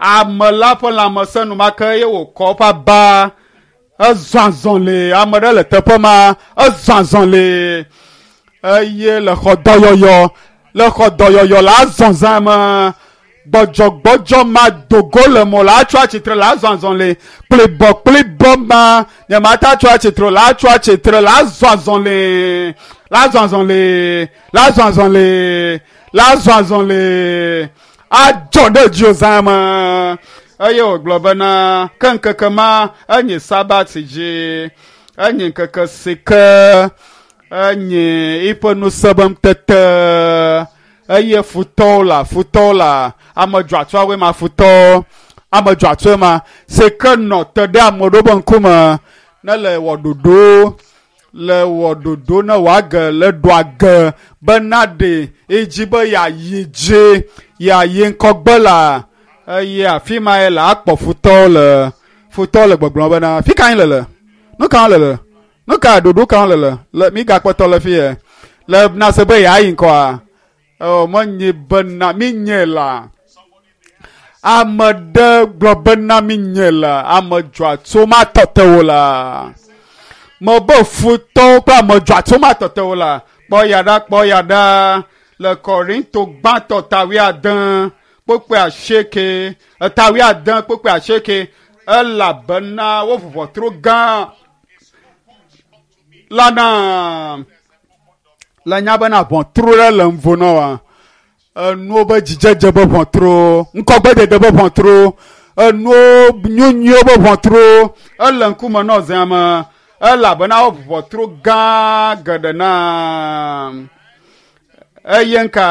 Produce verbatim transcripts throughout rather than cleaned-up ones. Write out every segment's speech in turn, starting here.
Ame la ƒe lãmesẽ enumake eye wòkɔ eƒe aba ezɔ azɔli. Ame ɖe le teƒe ma ezɔ azɔli eye le xɔ dɔyɔyɔ le xɔ dɔyɔyɔ le azɔ zã me gbɔdzɔgbɔdzɔ ma dogo le mo la atso atsitre le azɔ azɔli kplibɔ kplibɔ ma nye ma ta atso atsitre le atso atsitre le azɔ azɔli le azɔ azɔli le azɔ azɔli le azɔ azɔli adzɔ ɖe dziwò zã me eye wògblɔ bena ke ŋkeke ma enye sabat dzi enye ŋkeke si ke enye eƒe ŋusẽ be ŋutete eye futɔwo la futɔwo la ame dzɔatsoawoe ma futɔwo ame dzɔatsoe ma si ke nɔ te ɖe ame ɖewo be ŋkume ne le wɔ ɖoɖo le wɔ ɖoɖo ne wòage le ɖo age bena ɖe edzi be yeayi dzi yeayi ŋkɔgbe la eye afi ma ye le akpɔ futɔwo le futɔwo le gbɔgblɔm bena fi ka le le nu ka le le nu ka ɖoɖo ka le le le mi gakpɔtɔ le fi yɛ le na se be yeayi ŋkɔa ɔ menye bena mi nye la ame ɖe gblɔ bena mi nye la ame dzɔatso ma tɔte wo la me be futɔwo kple ame dzɔatso ma tɔte wo la kpɔ ya ɖa kpɔ ya ɖa le Korinto gbãtɔ ta wuiade kpukpui asieke eta wuiade kpukpui asieke elabena wo ʋuʋɔtro gã la na le nya bena ʋɔtru ɖe le ŋvo na wa enuwo be dzidzedze be ʋɔtru ŋkɔgbedede be ʋɔtru enuwo nyuinyuiwo be ʋɔtru ele ŋkume nɔ zea me elabena wo ʋɔtru gã geɖe na eye ŋka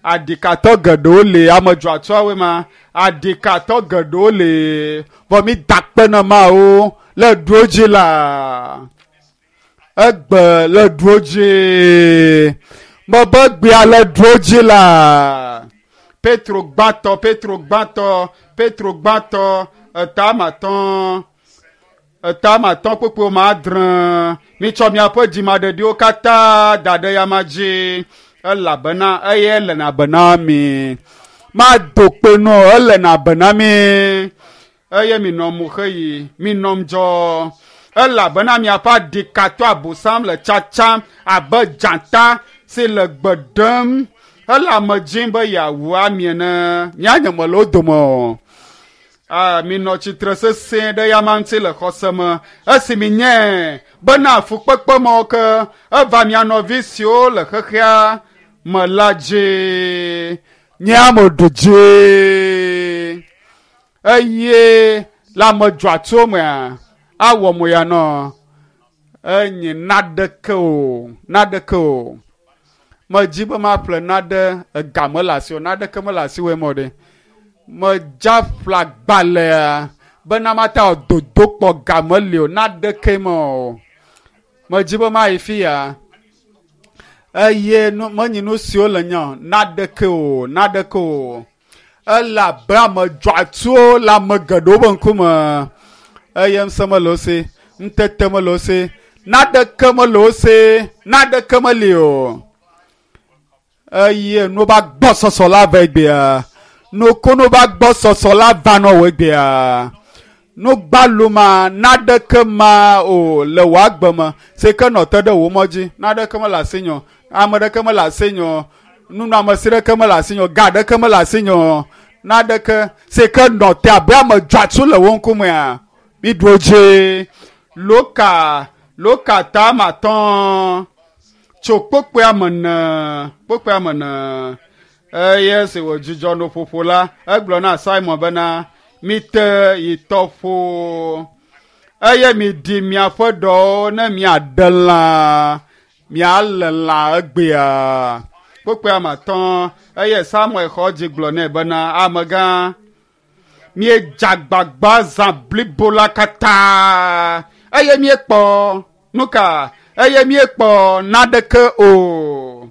aɖikatɔ geɖewo le ame dzɔatsoawoe ma aɖikatɔ geɖewo le vɔ mi da kpe na mawo le ɖuwo dzi la egbe le ɖuwo dzi mebe gbea le ɖuwo dzi la Petro gbãtɔ Petro gbãtɔ Petro gbãtɔ eta amatɔ̃ eta amatɔ̃ kpukpui ma adre mitsɔ miaƒe dzimaɖeɖiwo katã da ɖe yama dzi elabena eye ele na bena mi mado kpe nɔ ele na bena mi eye minɔ mo xeyi minɔ ŋdzɔ elabena miaƒe aɖikatɔ abosam le tsatsam abe dzata si le gbe ɖem hele ame dzim be yeawu ami ene mianye me le wo dome o. Ah, minɔ tsitre sesẽ ɖe yama ŋuti le xɔse me esi minyae bena fukpekpe mawo ke eva mia nɔvi siwo le xexea me la dzi nye ame ɖu dzi eye le ame dzɔatso mea awɔ mo ya nɔ enye naɖeke o naɖeke o medzi be maƒle naɖe ega mele asi o naɖeke mele asiwòe mɔ ɖe medza ƒle agbalẽa bena mate wɔ dodokpɔ ga meli o naɖeke me o medzi be mayi fi ya eye nu menyi nu siwo le nye o naɖeke o naɖeke o ele abe ame dzɔatsuwo le ame geɖewo be ŋkume eye ŋusẽ mele wo si ŋutete mele wo si naɖeke mele wo si naɖeke meli o eye nuwo ba gbɔ sɔsɔ la va egbea nukunu ba gbɔ sɔsɔ la va nɔ wò egbea nugbalu ma naɖeke ma o le wò agbe me si ke nɔ te ɖe wò mɔ dzi naɖeke mele asinye o ame ɖeke mele asinye o nunɔamesi ɖeke mele asinye o ga ɖeke mele asinye o naɖeke si ke nɔ te abe ame dzɔatsu le wò ŋkumea mi ɖu wo dzi loka loka ta amatɔ̃ tso kpokpoea me ne kpokpoea me ne eye esi wòdzudzɔ nuƒoƒo la egblɔ na Simon bena mite yi tɔƒo eye miɖi miaƒe ɖɔwo ne miaɖe lã mialé lã egbea kpokpoea me atɔ̃ eye Samuel xɔ dzi gblɔ nɛ bena amegã miedze agbagba zã blibo la katã eye miekpɔ nu ka eye miekpɔ naɖeke o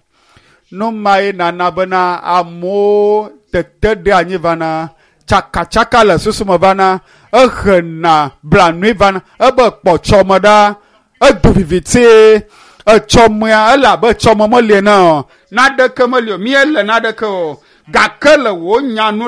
nu mae nana bena amewo tete ɖe anyi vana tsakatsaka le susu me vana ehena blanui vana ebe kpɔtsɔme ɖa edo viviti etsɔmea ele abe etsɔme meli ene o naɖeke meli o miele naɖeke o gake le wò nya nu